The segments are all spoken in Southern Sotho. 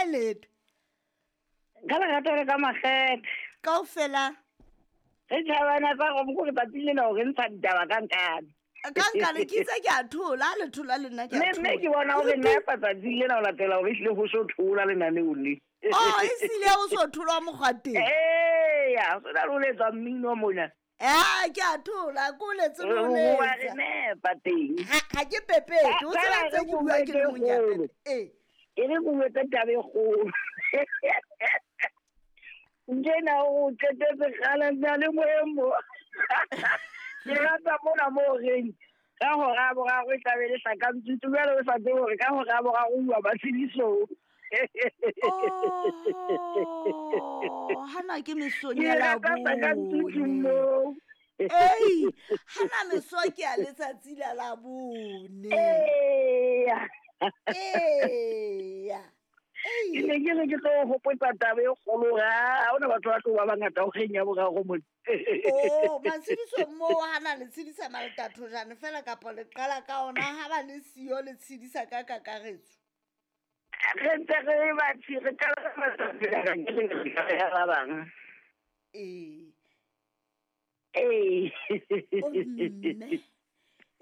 kae leta? Ka lerato le ka makgethe. Kaofela. Re tjhabana tsa go mo re tsatsi lena hore ntsha ditaba ka nkane. Ka nkane ke itse ke a thola, ha le thola le nna ke a Mme mme ke thola. bona hore nna epa tsatsi lena ho latela hore ehlile ho so thola lenaneong le. Oh, e sile o so tholwa mokgwa teng. Eya, so na le ho letswa mmino mona. Eh, ke a thola, ke o letse le ho Wa re letsa. nepa teng. Ha ke pepete, o tseba ntse ke bua ke le mong ya pepe. Ee. E re ke bue ka taba e kgolo. Njena o qetetse kgale nna le moeng mo. Ke rata mona moo reng ka hora ya boraro e tlabe le hlakantswitse jwale o sa tsebe hore ka hora ya boraro o uwa matshedisong. Oh, hana ke mesong Ke ya rata hlakantswitse Labone. moo. Ei, hana meso ke ya letsatsi la Labone. Eya. Eya. Ke Ei. ne ke re ke tlo o hopotsa taba e kgolo hore ha hona batho ba tlo ba bangata horeng ya boraro mona. Oh, matshedisong moo hana le tshedisa maltathojane fela kapa le qala ka ona ha ba le siyo le tshedisa ka kakaretso. Re ntse re batho re qala ka matsatsi a ka ke re ya ba bang. Ee. Ee. O mme.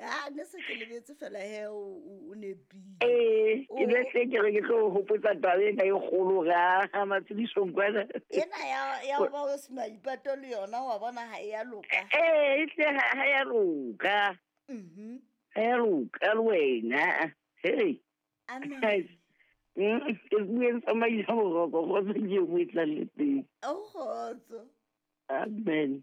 Ah, ne se ke lebetse fela he o nepile. Ee, ke O- ne se ke re ke tlo o hopotsa taba ena e kgolo hore ha matshedisong kwana. Ena ya ho ba o se maipato le yona wa bona ha e ya loka. Ee, ehlile ha ya loka. Ha ya loka le wena. Hey. Amen. Ke bueng tsamaisa boroko, kgotso ke e nngwe e tlang le teng. O kgotso. Amen.